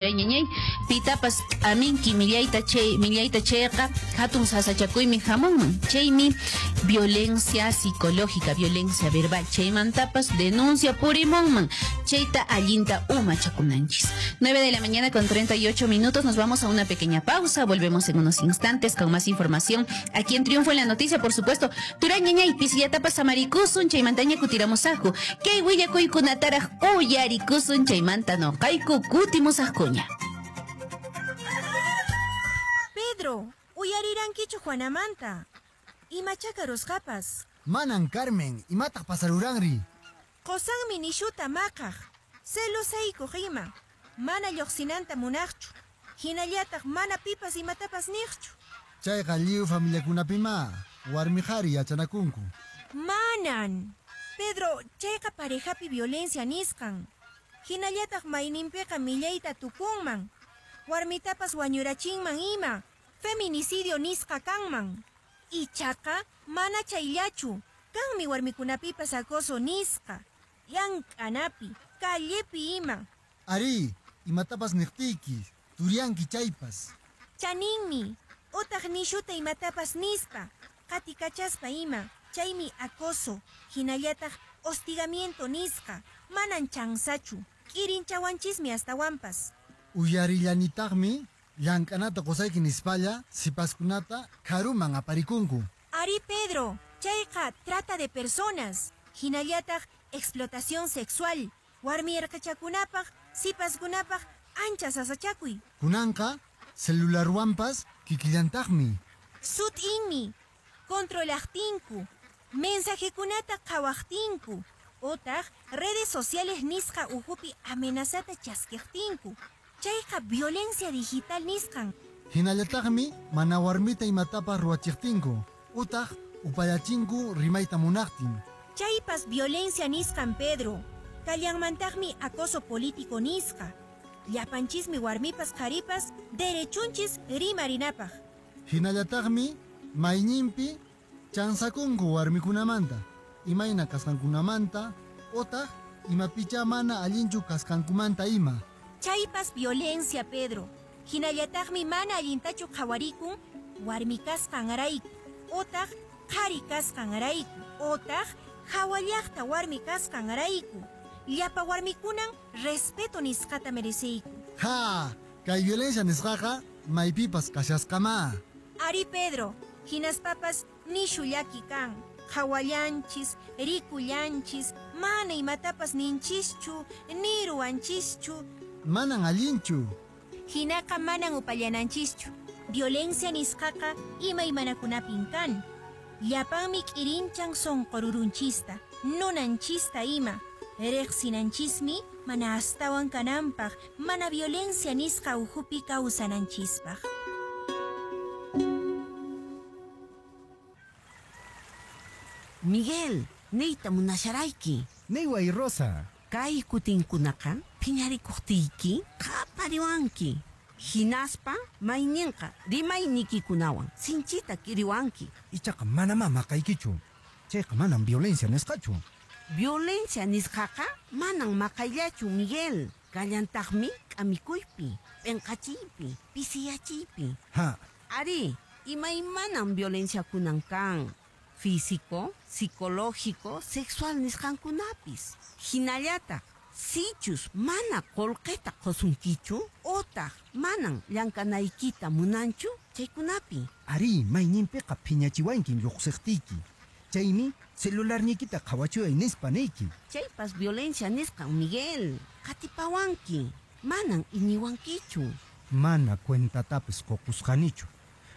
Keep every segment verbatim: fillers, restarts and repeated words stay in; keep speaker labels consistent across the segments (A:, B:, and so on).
A: Ñañay pitapas k'aminki millayta chay millayta chayqa hatun sasachakuymi hamunman chaymi violencia psicológica, violencia verbal chaymantapas denuncia purimunman chayta allinta umachakunanchis. nueve de la mañana con treinta y ocho minutos, nos vamos a una pequeña pausa, volvemos en unos instantes con más información aquí en Triunfo en la Noticia, por supuesto. Turañañay pisillatapas samarikusun chaymantaña kutiramusaqku kay willakuykunataraq uyarikusun chaymanta noqayku kutimusaqku.
B: Pedro, uyarirankichu Juanamanta. Imachaka rusqapas.
C: Manan Carmen, imataq pasaruranri.
B: Qosanmi nishuta maqaq. Celosaykuq ima. Mana lluqsinanta munaqchu. Hinallataq mana pipas imatapas niqchu.
C: Chayqa lliw familiakunapima warmi qhari yachanakunku.
B: Manan. Pedro, chayqa parejapi violencia nisqan. Hinallataq mayninpiqa millayta tukunman. Warmitapas wañurachinman ima. Feminicidio nisqa kanman. Ichaqa mana chayllachu. Kanmi warmikunapipas acoso nisqa. Llank'anapi, callepi ima.
C: Ari, imatapas niqtiyki, turianki chaypas.
B: Chaninmi, utaq nishuta imatapas nispa, qatikachaspa ima. Chaymi acoso, hinallataq hostigamiento nisqa. Manan chansachu, k'irinchawanchismi astawanpas.
C: Uyarillanitaqmi llank'anata qusayki nispalla sipaskunata karuman aparikunku.
B: Ari Pedro, chayqa trata de personas, hinallataq explotación sexual, warmi erqachakunapaq, sipaskunapaq ancha sasachakuy.
C: Kunanqa celularwanpas kikillantaqmi.
B: Sut'inmi, controlaqtinku, mensajekunata qhawaqtinku, otaq redes sociales nisqa uhupi amenazata chaskiqtinku. Chayqa violencia digital nisqan.
C: Hinallataqmi mana warmita imatapas ruwachiqtinku, utaq upallachinku rimayta munaqtin.
B: Chaypas violencia nisqan, Pedro. Kallanmantaqmi acoso político nisqa. Llapanchismi warmipas qharipas derechunchis rimarinapaq.
C: Hinallataqmi mayninpi chansakunku warmikunamanta, imayna kasqankunamanta, otaq imapicha mana allinchu kasqankumanta ima.
B: Chaypas violencia, Pedro. Hinallataqmi mana allintachu qhawarikun warmi kasqanrayku, otaq qhari kasqanrayku, otaq hawallaqta warmi kasqanrayku. Llapa warmikunan respeto nisqata mereceyku.
C: Ha, kay violencia nisqaqa maypipas kashasqama.
B: Ari Pedro, hinaspapas nishu llaki kan. Qhawallanchis, rikullanchis, mana imatapas ninchischu, ni ruwanchischu.
C: Manan allinchu.
B: Hinaqa manan upallananchischu. Violencia nisqaqa imaymanakunapin kan. Llapanmi k'irinchan sunqururunchista, nunanchista ima. Riqsinanchismi mana astawan kananpaq, mana violencia nisqa uhupi kawsananchispaq.
D: Miguel, niyta munasharayki.
E: Niway Rosa.
D: Kay kutinkunaqa phiñarikuqtiyki qapariwanki. Hinaspa mayninqa rimaynikikunawan sinchita kiriwanki.
E: Ichaqa manamá maqaykichu. Chayqa manam violencia nisqachu.
D: Violencia nisqaqa manan maqayllachu, Miguel. Kallantaqmi k'amikuypi, p'inqachiypi, pisiyachiypi.
E: Ha.
D: Ari, imaymanam violenciakunan kan. Físico, psicológico, sexual nisqankunapis. Hinallataq, sichus mana qullqita qusunkichu, otaq manan llank'anaykita munanchu chaykunapi.
E: Ari, mayninpiqa phiñachiwankin lluqsiqtiyki. Chaymi celularniykita qhawachiway nispa niyki.
D: Chaypas violencia nisqan, Miguel. Qatipawanki, manan iñiwankichu.
E: Mana cuentatapis qukusqanichu.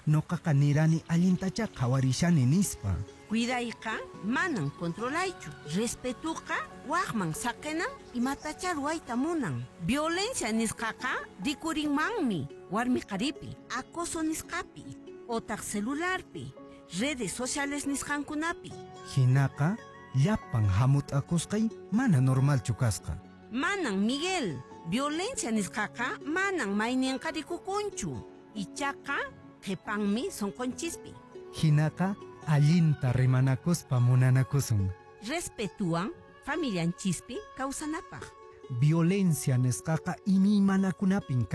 E: Noqaqa nirani allintachá qhawarishani nispa.
D: Cuidayqa manan controlaychu. Respetuqa waqman saqinan imatachá ruwayta munan. Violencia nisqaqa rikurinmanmi warmi qharipi, acoso nisqapi, otaq celularpi, redes sociales nisqankunapi.
E: Hinaqa llapan hamut'akusqay mana normalchu kasqa.
D: Manan, Miguel. Violencia nisqaqa manan mayninqa rikukunchu. Ichaqa qhipanmi sunqunchispi.
E: Hinaqa allinta rimanakuspa munanakusun.
D: Respetuwan familianchispi kawsanapaq.
E: Violencia nisqaqa imaymanakunapin kan.